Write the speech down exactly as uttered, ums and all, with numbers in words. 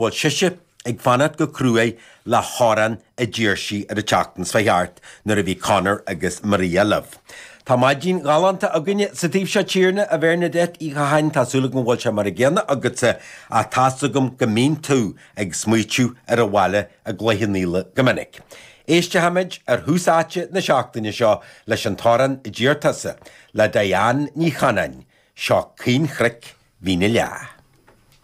bhfuil sise ag fanacht go cruaidh le hamhrán a d'iarr sí ar an tseachtain seo thart nuair a bhí Conor agus Maria libh. Tá maidin ghalánta againne sa taobh seo tíre a Bhernadette Uí Chatháin tá súil agam go bhfuil sé mar an gcéanna agatsa ach tá's agam go mbíonn tú ag smaoitiú ar an bhaile i gCloich Cheann Fhaola go minic. Éistfimid ar thús áite na seachtaine seo leis an t-amhrán a d'iarr tusa le Diane Ní Chanáin, seo Caoinchnoic Mhín na Leá.